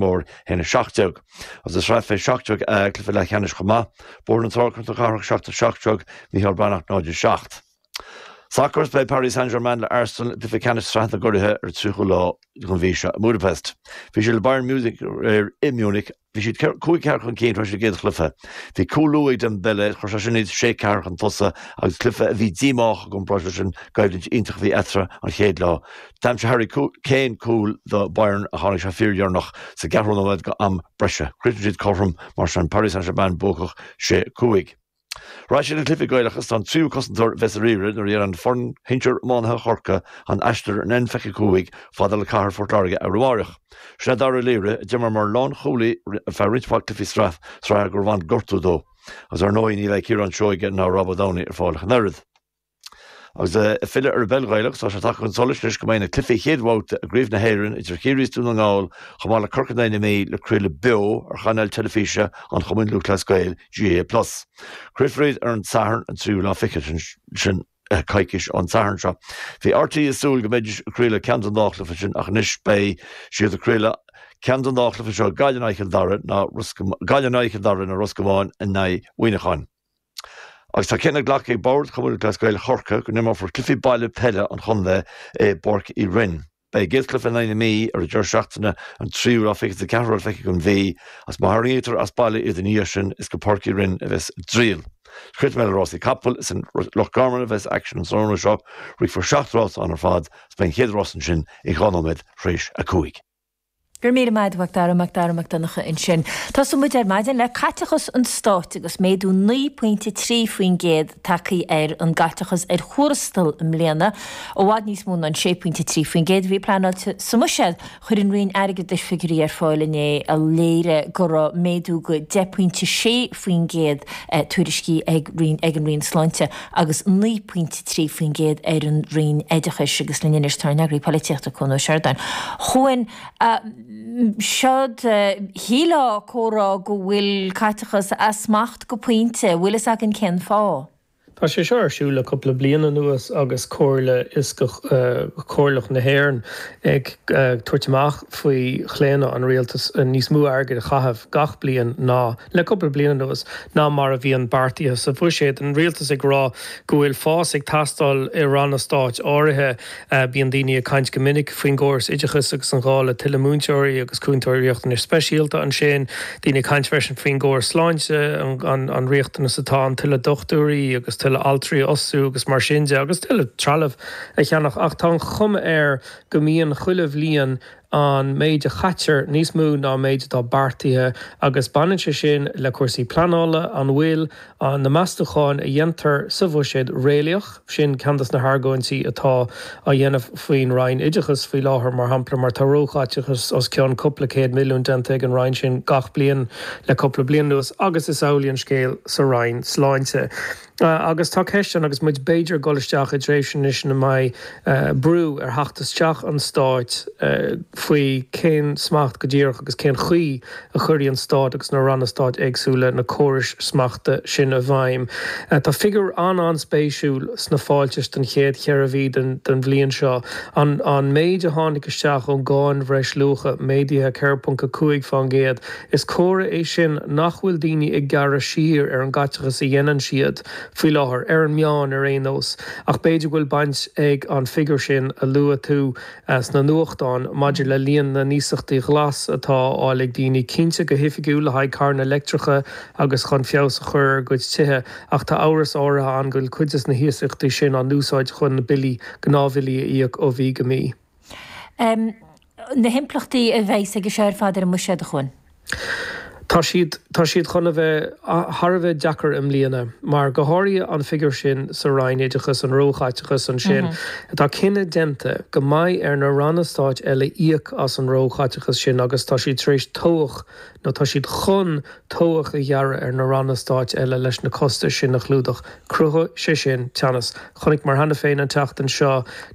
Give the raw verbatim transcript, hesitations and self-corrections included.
Mór a haon seacht déag. Agus is sraith fé seacht déag cluiche leathcheannais chomh maith, Bóthar na Trá Contae Cathrach seacht a seacht déag, Mícheál Breathnach náid seacht. Soccer beidh Paris Saint-Germain le Arsenal i gcluiche ceannais Sraith na gCuradh ar tríocha lá den mhí seo i Budapest. Bhí sé le Bayern Munich i Munich, bhí siad cúig ceathair chun cinn tar éis an gcéad chluiche. Bhí cúl luath ag Dembele, chuir sé sin iad sé ceathair chun tosaigh agus cluiche a bhí díomách i gcomparáid leis an gcoimhlint iontach a bhí eatarthu an chéad lá. D'aimsigh Harry Kane cúl do Bayern a tháinig sé fíordheireanach sa gceathrú nóiméad go am breise. Chríochnaigh siad cothrom mar sin Paris Saint-Germain buacach sé cúig. Ra sé na cluichí Gaelacha an tríú cosantóir bheas ar iarraidh nuair a dhéanann foireann shinsir iománaithe Chorcaí an aistear an N fiche cúig fada le cathair Phort Láirge ar amárach. Sin é Dara Ó Laoire a d'imir mar lánchúlaí feadh roinnt mhaith cluichí sraith sraithe gur bhain gortú dó. Agus ar ndóigh ní bheidh Ciarán Seoige ná Rob Ó Domhnaill ar fáil ach an oiread. Agus filleadh ar an bpeil Ghaelach tá sé tagtha chun solais leis go mbeidh na cluichí chéad bhabhta i gCraobh na hÉireann idir Chiarraí Dún na nGall chomh maith le Corca na Mí le craoladh beo ar chainéal teilifíse an Chumainn Lúthchleas Gael G A Plus. Craolfar ar an Satharn an tríú lá fiche sin coicís an Satharn seo. Bhí R T É ag súil go mbeidís ag craoladh ceann den dá chluiche sin ach anois beidh siad ag craoladh ceann den dá chluiche seo Gaillimh in aghaidh Chill Dara ná Gaillimh in aghaidh Chill Dara nó Ros Comáin in aghaidh Mhuineacháin. Agus tá cinneadh glactha ag Bord Chumann Lúthchleas Gael Chorcaí go n-imreofar cluichí baile peile an chontae i bPáirc Uí Rinn. Beidh an chéad chluiche in aghaidh na Mí ar an deireadh seachtaine an tríú lá fiche ceathrú fiche den mhí, agus má tharraingítear as baile iad ina dhiaidh sin is go Páirc Uí Rinn a bheas a dtriall. Chríochnaigh mé le rásaí capall is in Loch Garman a bheas aicsean an tráthnóna seo, rithfear seacht rás ann ar fad, is beidh an chéad rás ansin i dhá nóiméad tar éis a cúig. Gur míle maith agat Dara Mac Dara Mac Donncha ansin. Tosóidh muid ar maidin le caiteachas an stáit agus méadú naoi pointe trí faoin gcéad tagtha ar an gcaiteachas ar thuarastal i mbliana. I bhfad níos mó ná an sé pointe trí faoin gcéad a bhí pleanáilte sa mbuiséad. Chuir an Roinn Airgeadais figiúirí ar fáil inné a léirigh go raibh méadú go deich pointe sé faoin gcéad tuairiscithe ag ag an Roinn Sláinte agus naoi pointe trí faoin gcéad ar an Roinn Oideachais agus linn anois tá ár n-eagraí polaitíochta Cuan Ó Seireadáin. Chuan Siod shílfeá comhrá go bhfuil caiteachas as smacht go pointe, bhfuil fhios againn cén fáth. Tá sé seo ar siúl le cúpla bliain anuas agus Comhairle Fhioscach Chomhairleach na hÉireann ag tabhairt amach faoi chlaonadh an rialtas níos mó airgid a chaitheamh gach bliain ná le cúpla bliain anuas ná mar a bhíonn beartaithe sa bhuiséad. An rialtas ag rá go bhfuil fás ag teastáil i ranna stáit áirithe bíonn daoine ag caint go minic faoin gcóras oideachais agus an gá le tuilleadh múinteoirí agus cúntóirí riachtanais speisialta ansin, daoine ag caint freisin faoin gcóras sláinte an, an riachtanas atá an tuilleadh dochtúirí agus tuilleadh altraí a fhostú agus mar sin de agus tuilleadh trealamh a cheannach ach tá an chuma air go mbíonn chuile bhliain an méid a chaitear níos mó ná méid atá beartaithe agus baineann sé sin le cúrsaí pleanála an bhfuil an na meastacháin a dhéantar sa bhuiséad réalaíoch sin ceann de na hargóintí atá á dhéanamh faoin Roinn Oideachais faoi láthair mar shampla mar tá róchaiteachas os cionn cúpla céad milliún déanta ag an Roinn sin gach bliain le cúpla bliain anuas agus is amhlaidh an scéal sa Roinn Sláinte. Uh, agus tá ceist ann agus muid b'fhéidir dul isteach i dtréimhse anois ina mbeidh uh, brú ar theacht isteach an stáit uh, faoi cén smacht go díreach agus cén chaoi a chuireann an stát agus na ranna stáit éagsúla na córais smachta sin i bhfeidhm. Uh, tá figiúr an an-spéisiúil sna fáiltais den chéad cheithre mhí den, den bhliain seo an, an méid a tháinig isteach ón gcáin bhreisluacha méadaithe ceithre ponc a cúig faoin gcéad. Is comhartha é sin nach bhfuil daoine ag gearradh siar ar an gcaiteachas a dhéanann siad faoi láthair ar an meán ar aon nós ach b'fhéidir bhfuil baint ag an figiúr sin a luaigh tú uh, sna nuachtáin maidir le líon na n-iasachtaí glas atá á fháil ag daoine cinnte go hoifigiúil le haghaidh carranna leictreacha agus chun feabhas a chur ar gcuid tithe ach tá amhras áirithe ann go bhfuil cuid de na hiasachtaí sin á n-úsáid chun na billí gnáthbhillí a íoc ó mhí go mí. Um, na himpleachtaí a bheas aige seo ar fad ar an mbuiséad a Chuain. Tá siad tá siad chun a bheith thar a bheith deacair i mbliana, mar go háirithe an figiúr sin sa Roinn Oideachais an róchaiteachas ansin. Mm -hmm. Tá cinneadh déanta go mbeidh ar na ranna stáit eile íoc as an róchaiteachas sin agus tá siad tar éis tobhach nó tá siad chun tobhach a ghearradh ar na ranna stáit eile leis na costais sin a chlúdach. Cruthóidh sé sin teannas. Chonaic mar cheana féin an tseachtain seo